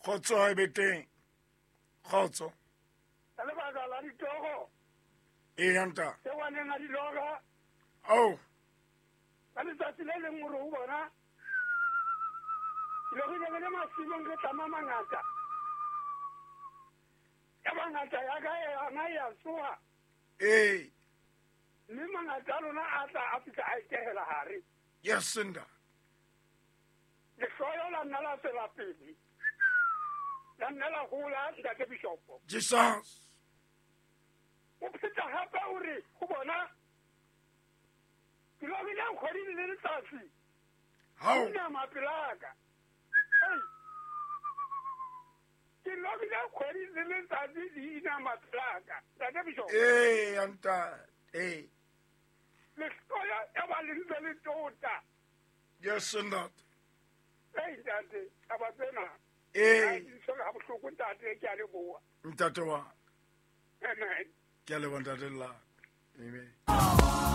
Kgotso ha e be teng. Kgotso. Ka lebaka la ditoro. Eya ntate. Tseo a neng a di lora. Ao. Ka letsatsi le leng o re ho bona, Ke lorile re le masimong re tlama mangata. Yaba ngata ya ka yona e a tsoha. Ee. Mme mangata a lona a tla a fihla a itehela hare. Yes, ntate. Lehloyo la nna la tswela pele. La nna la hola, Ntate Bishopo. Jesus. O pheta hape o re ho bona, Ke lorile kgwedi le letsatsi. Hao. Inama pela ka. Ei. Ke lorile kgwedi le letsatsi di inama pela ka. Ntate Bishop. Ee, ntate. Ee. Lehloyo ya ba le ntse le tota. Yes, ntate. Ei, ntate, taba tsena. Ee. Di tshwere ha bohloko, ntate, ke a leboha. Ntate wa. Amen. Ke a leboha, ntate la. Amen.